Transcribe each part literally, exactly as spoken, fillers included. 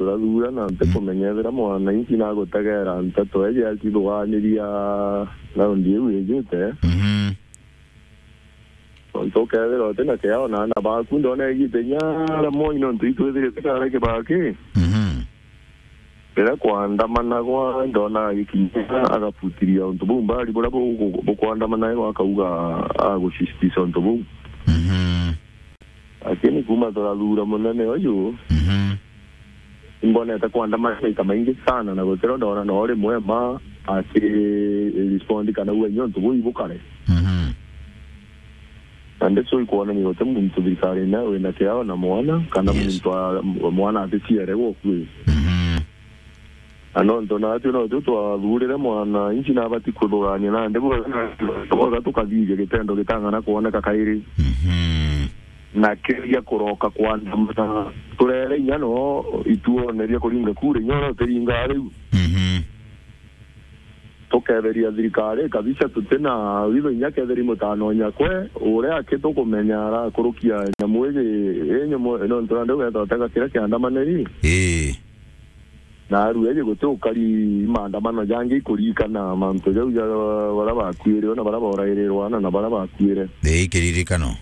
turathura na ntikumenya ethira mwananchi nagutegera nteto eje acithuganiria raundi iu ijite. Mhm. Tontu ukethira utina kiao na ana baku, ndona igite inya rimwe nontu itwithirite kara kibaki. Mhm. Riria kwandamana gwa ndona gikinya agabutiria untu buu mbari buria bu-, bu-, bukwandamana, akauga agusitisha untu buu. Mhm. Lakini kuma turathura munene uyu, Mhm. imbonete kwandamana maita maingi sana, na gutiro ndona no rimwe ma aki respond kana uga inya untu buu ibukare. Mhm. Na ndicui kwonania guti muntu thirikari ina wina kiao na mwana, kana Yes. muntu wa, wa mwana aticiere gukui. Mhm. Na nontu natwi no tu twathurire mwananchi na abati kuthurania nandi bwega, bwega tukathithia gitendo gitang'ana kwoneka kairi. Mhm. Na kiria kuroka kwandamana. Turere inya no ituoneria kuringa kura inya uria utiringaa riu. Mhm. Tuketheria thirikari kabisa, tutina witho inya ketheri mutano nyakwe, uria aki tukumenya arakurukia nyamu iji, i nyamu, nontu nandi ugetha utega kiria kiandamaniri. Ii. Na aru eje guti ukari maandamano jangi ikurikana mantu jau ja baria bakuire, na baria borairirwa, na, na baria bakuire. Ii, kiririkano.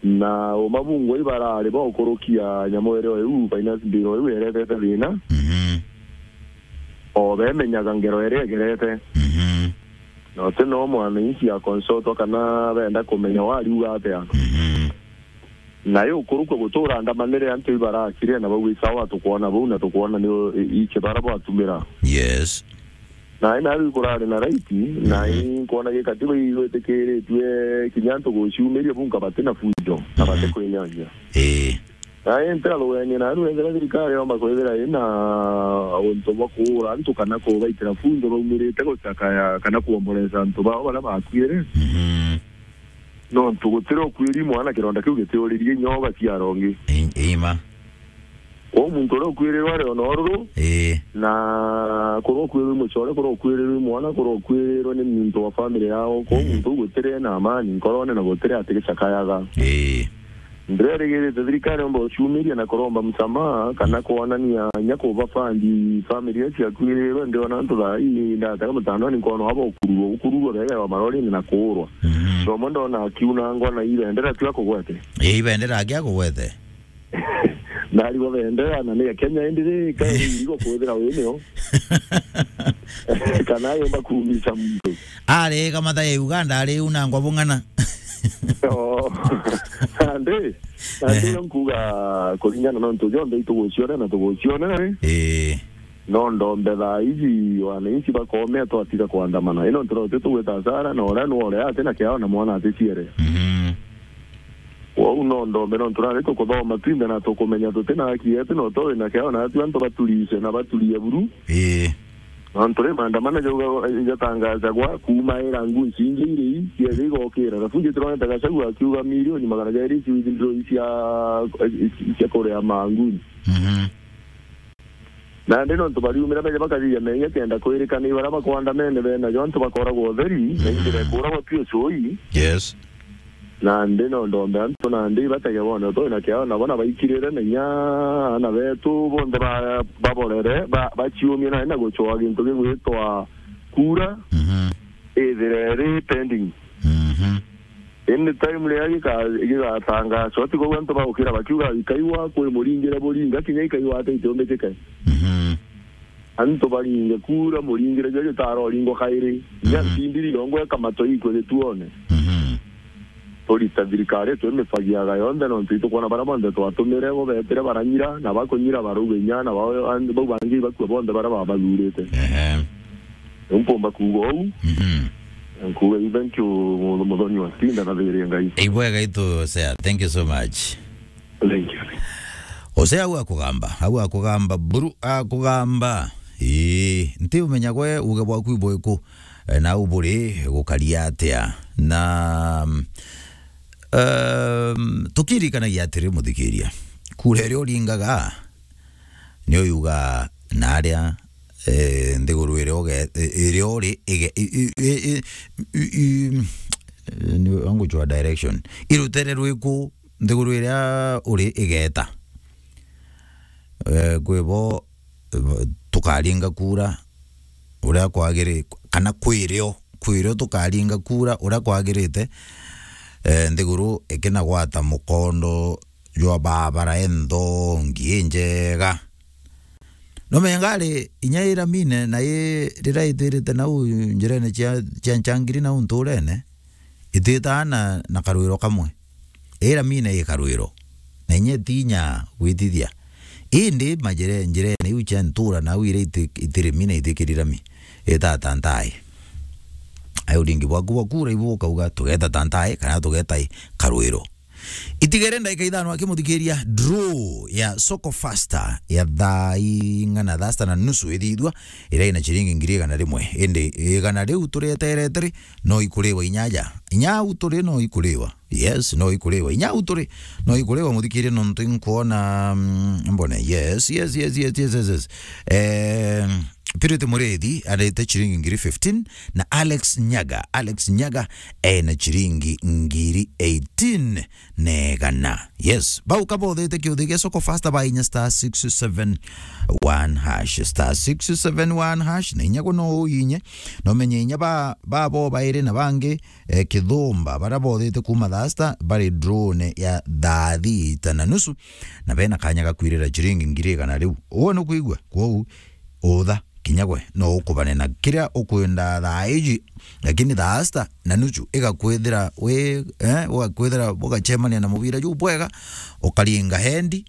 Na uma bungwa ibarari ba ukurukia nyamu irio iu, finance bill iu iretete thina. Mhm. O bemenyaga ngero iria igerete. Mhm. Na uti no mwananchi akonsotwa kana benda kumenya wariuga atia. Mhm. Na yo ukurukwa gutura ndamanire antu ibarakire na bau isawa tukwona bau na tukwona ni i-, iki bara bwatumira. Yes. Na ina riu kurari na right, na Mhm. i nkwona gikatiba igwitikiritue kinya antu guciumiria bunka bati na fujo, na bati Mhm. kwiyanja. Ii. Na i ntira rugenia na riu ethira thirikari yomba kwithira ina untu bwa kuura antu kana kubaitira fujo baumirite gucakaya kana kuomboresa antu bao baria bakuire. Mhm. Nontu gutiri ukuiri mwana kironda kiu gitiuririe inya ugaciara ungi. I-, ima. Kwou muntu uria ukuirirwe ari ona ururu, Ii. na kuria ukuirirwe mucore, kuria ukuirirwe mwana, kuria ukuirirwe ni muntu wa family yao. Kwou Mm. muntu uu gutiri na amani nkorone na gutiri atigicakayaga. Ii. Ndirerigirite thirikari yomba guciumiria na kuromba msamaha kana kwonania inya kuba fund family iria ciakuirirwe. Ndiona antu thaa ii ndatega mutandoni nkona aba ukururwa, ukururwa begewa marorine na kuurwa. Mhm. Nomwe ndona akiunangwa na ibendera tu akugwete. Ii, ibendera aki akugwete. Narigwa bendera na ni ya Kenya indi ri, kae irigo kwithira wi nio. Kana yomba kuumisa muntu. Ari kamatha ya Uganda ari unangwa bung'ana. Oh. Nandi, nandi Ehe. yo nkuga kuringana na ntu jonthe itugucionera na tugucionera ri. Ii. No ndombe thaa iji wananchi bakomea twatiga kwandamana. Ino ntu no tugwita hasara na uria nworea ati na kiao na mwana aticiere. Mhm. Kwou no ndombe nontu nandi tukuthoma twinthe na tukumenya tuti na haki yetu, no twi na kiao na atu antu baturishe na baturie buru. Ii. Nontu ri maandamano jauga, jatangazagwa kuuma ira ngunci ingi iri ii, ciaja igokira. Rafu jitironete Gachagua akiuga milioni magana jairi ci withdraw cia, cia kuria manguni. Mhm. Nandi nontu bariumira beja bakathithia menya kenda kwirikana baria bakwandamene bena jo antu bakoragwa utheri, na injira Mhm. ikuragwa pio cui. Yes. Nandi no ndombe antu nandi batage bone utoi na kiao na bona baikirire na inya ana betu bonthe ba-, baborere, ba-, baciumie na, na gucwa gintu gigwitwa kura, Mhm. ithire ri pending. Mhm. Any time riria gika-, gigatangazwa, ti kou antu bagukira bakiuga, "Ikaiwa kwi muringire buringa, kinya ikaiwa ati itiumbikike." Mhm. Antu baringe kura, muringire jwa jutara uringwa kairi. Inya Mhm. ntindiri yongwa ikamatwa ikwe gituone. Mhm. Turita thirikari twimifagiaga yonthe, nontu itukwona baria bonthe twatumire bo betire baranyira, na bakunyira barauga inya, na bao, an-, bau bangi bakua bonthe baria babathurite. Ehe. Riu mpumba kuuga uu, Mhm. nkuuga i thank you, mu-, muthoni wa Tinda na thiirie Ngai. Ibwega itu, Sea. Thank you so much. Thank you. Ose au akugamba, au akugamba, buru akugamba. Ii, nti umenya gwe uge bwaku ibwiku, eh, na uburi gukaria atia. Na, mm, um, tukirikanagia atiri, muthikiria. Kura iria uringaga, ni uyuga na aria, eh, nthiguru iria uge-, iria uri ige-, i-, i-, i-, i-, i-, i-, ni wangu jwa direction. Irutere rwiku nthiguru iria uri igeta. eh, kwi bo, eh, tukaringa kura uria kwagiri-, kana kwirio, kwirio tukaringa kura uria kwagirite, eh, nthiguru ikinagwata mukondo jwa babara enthongi injega. No menga ari inya iramine na i riria itirite nau njirene cia, cia nchangiri nau nturene, ititaa na, na karwiro kamwe. Iramine i karwiro. Na inya itinya gwitithia. Indi majire-, njirene iu cia ntura nau iria iti-, itirimi na itikirira mi. Itata ntai. Ai uringi bwaku bwa kura ibu ukauga tugeta ta ntai kana tugeta i karwiro. Itigere ndagika ithano akimuthikiria draw ya Soko Fasta ya thaa ing'ana, thaa sita na nusu ithithua, iria ina ciringi ngiri igana rimwe. Indi igana riu turieterete ri, no ikuriwa inya aja. Inya au turi no ikuriwa. Yes, no ikuriwa. Inya au turi no ikuriwa, muthikiria, nontu inkuona, mm, mbone. Yes, yes, yes. Eh, Purity Murithi arete ciringi ngiri fifteen na Alex Nyaga. Alex Nyaga ena ciringi ngiri eighteen na igana. Yes, bau kabothete kiuthi gia Soko Fasta ba inya star six seven one hash, star six seven one hash, na inya guno uinye, no menye inya ba, ba bo bairi na bangi, eh, kithumba, bara bothite kuma thaa sita bari drone ya thaa thita na nusu, na bena kanya ga kwirira ciringi ngiri igana riu. Uwe nukwigua? Kwou, utha, kinya gwe no ukubane na kiria ukwenda thaa iji, lakini thaa sita na nusu igakwithira wi, eh, ugakwithira ugacemania na mubira juu bwega, ukaringa hendi,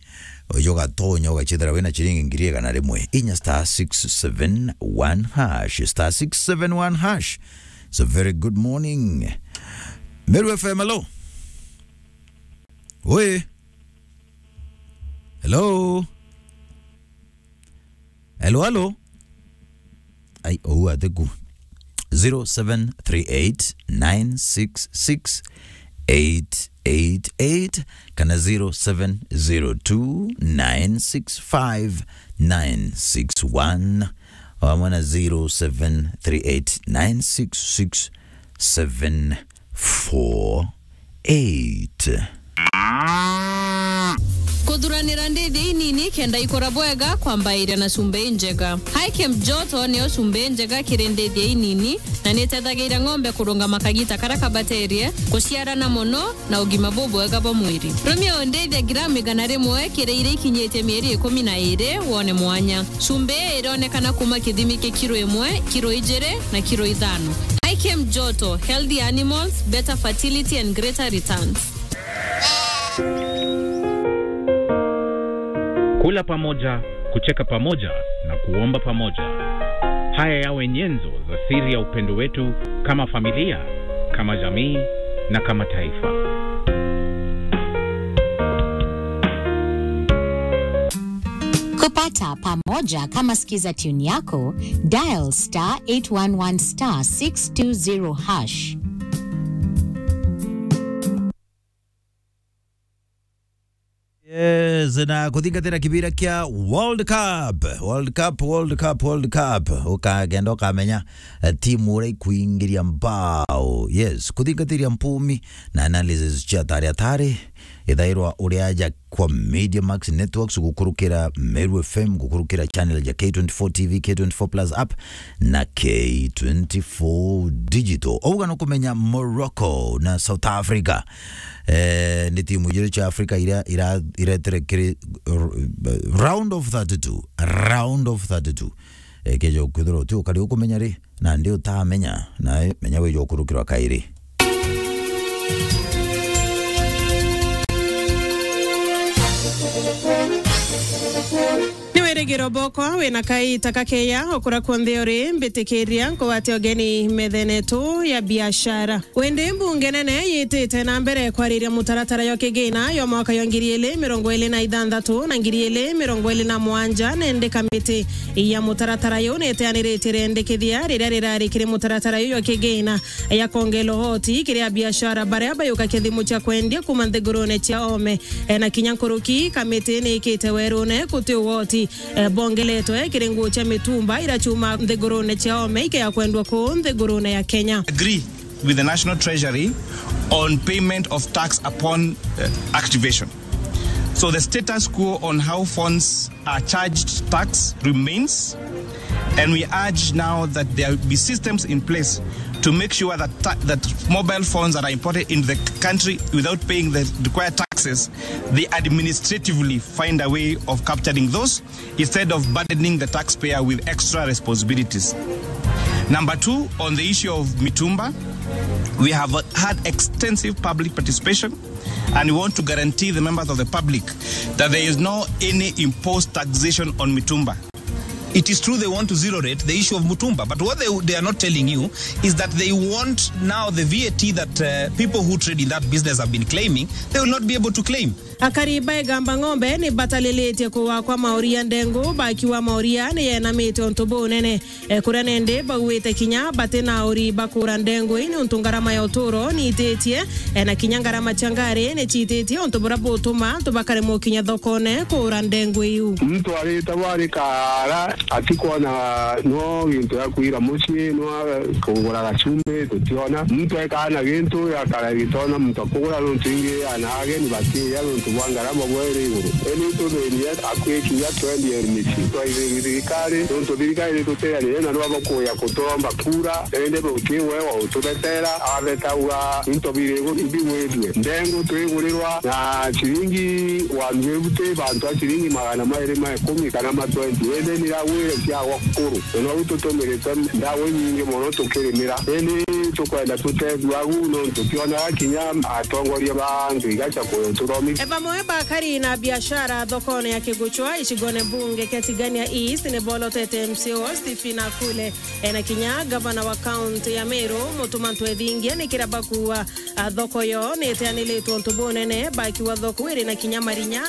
uju ugatonya ugachithira wina ciringi ngiri igana rimwe. Inya star six seven one hash, star six seven one hash. It's a very good morning. Meru F M, hello. Oi. Hello. Hello, hello. Ai, ou atiku. Zero seven three eight nine six six eight eight eight kana zero seven zero two nine six five nine six one, wamwe na zero seven three eight nine six six seven four eight. Kuthuranira ndithia inini kenda ikura bwega kwambairia na cumbi injega. Hikem Joto niyo cumbi injega kiri ndithia inini na nitethagiria ng'ombe kurungama kagita karia kabaterie, kuciarana mono na ugima bubwega bwa mwiri. Rumia undithia gramu igana rimwe kiri iria ikinyitie mieri ikumi na iri wone mwanya. Cumbi ii ironekana kuma kithimi kia kiro imwe, kiro ijiri na kiro ithano. Hikem Joto, healthy animals, better fertility and greater returns. Kula pamoja, kucheka pamoja na kuomba pamoja. Haya yawe nyenzo za siri ya upendo wetu kama familia, kama jamii na kama taifa. Kupata pamoja kama skiza tune yako, dial star eight one one star six two zero hash. Yes, na kuthingatira kibira kia World Cup. World Cup, World Cup, World Cup. Ukagenda ukamenya, eh, timu uria ikuingiria mbao. Yes, kuthingatira mpumi na analysis cia tari atari. Ithairwa uri aja kwa Media Max Networks, gukurukira Meru F M, gukurukira channel ja K twenty-four T V, K twenty-four Plus app na K twenty-four Digital. Auga no kumenya Morocco na South Africa. Eh, ni timu ijiri cia Africa iria ira-, iretere kiri r-, round of thirty-two. Round of thirty-two. Eh, keja ukwithirwa uti ukari ukumenya ri, na ndi utamenya, na menya wija ukurukirwa kairi. Ni wirigiro bokwa wina kaita kakeya ukura kunthe uri, mbitikiria nkugwate ugeni methene yetu ya biashara. Wende mbunge nene yitite na mbere kwariria mutaratara yo kigina yo mwaka yo ngiri ili mirongo ili na ithanthatu na ngiri ili mirongo ili na mwanja, nende kamiti ya mutaratara yu niteaniritie rendekethia riria rirari kiri mutaratara yu yo kigina ya kongela uhoti kiri abiashara baria bayuka kithimu cia kwendia kuma nthigurune cia ome. E, na kinya nkuruki, kamiti ni ikite werune kuti uhoti, e, bongeletwe kiri nguu cia mitumba ira ciuma nthigurune cia ome ikeya kwendwa kuu nthigurune ya Kenya. Agree with the National Treasury on payment of tax upon, uh, activation. So the status quo on how phones are charged tax remains, and we urge now that there be systems in place to make sure that ta-, that mobile phones that are imported into the country without paying the required taxes, they administratively find a way of capturing those instead of burdening the taxpayer with extra responsibilities. Number two, on the issue of mitumba, we have had extensive public participation, and we want to guarantee the members of the public that there is no any imposed taxation on mitumba. It is true they want to zero rate the issue of mutumba, but what they, they are not telling you is that they want now the V A T that, uh, people who trade in that business have been claiming, they will not be able to claim. Akari ba Igamba Ng'ombe ni batalilitie kuwa kwa maoria ndengu, bakiuga maoria ni yenamite untu bunene. E, kuria nindi bauite kinya bati na auri ba kuura ndengu ii, niuntu ngarama ya uturo ni ititie, e, na kinya ngarama cia ngari ni ciititie, untu buria butuma antu bakaremwa kinya thokone kuura ndengu iu. Muntu aritagwa ari kaara, atikwona no gintu ya kwira mucii, no kugura gacumbi, tutiona. Muntu ekaa na gintu, akara gitona muntu akugura, nontu ingi ana ageni batiiya nontu bwa ngarama bwa iri iguru. Indi tuthini akwikinya twenty L M C. Twaithiri thirikari, nontu thirikari ni tuteanire na nwa bakuya kuturomba kura, indi buti we wa utubetera, abeta uga into biri iguru ibigwithue. Ndengu twigurirwa na ciringi one fifty, bantu a ciringi magana mairi ma ikumi kana ma twenty. Indi niragwire ciagwa kuru. Na nau tutumirite ndawa inyingi mono tukirimira. Indi tukwenda tutethua agu nontu tionaga kinya atongoria ba antu igacha kututhomithia. E, bamwe bakari na biashara thokone ya Kiguchwa, icigone mbunge kia Tigania East, ni bolotete M C A wao Stephen Akule, e, na kinya gavana wa kaunti ya Meru, Mutuma Ntwethingia, ni kira bakuwa, a, thoko yo ni iteanilitwe untu bunene, bakiwa thoko iri na kinya marinya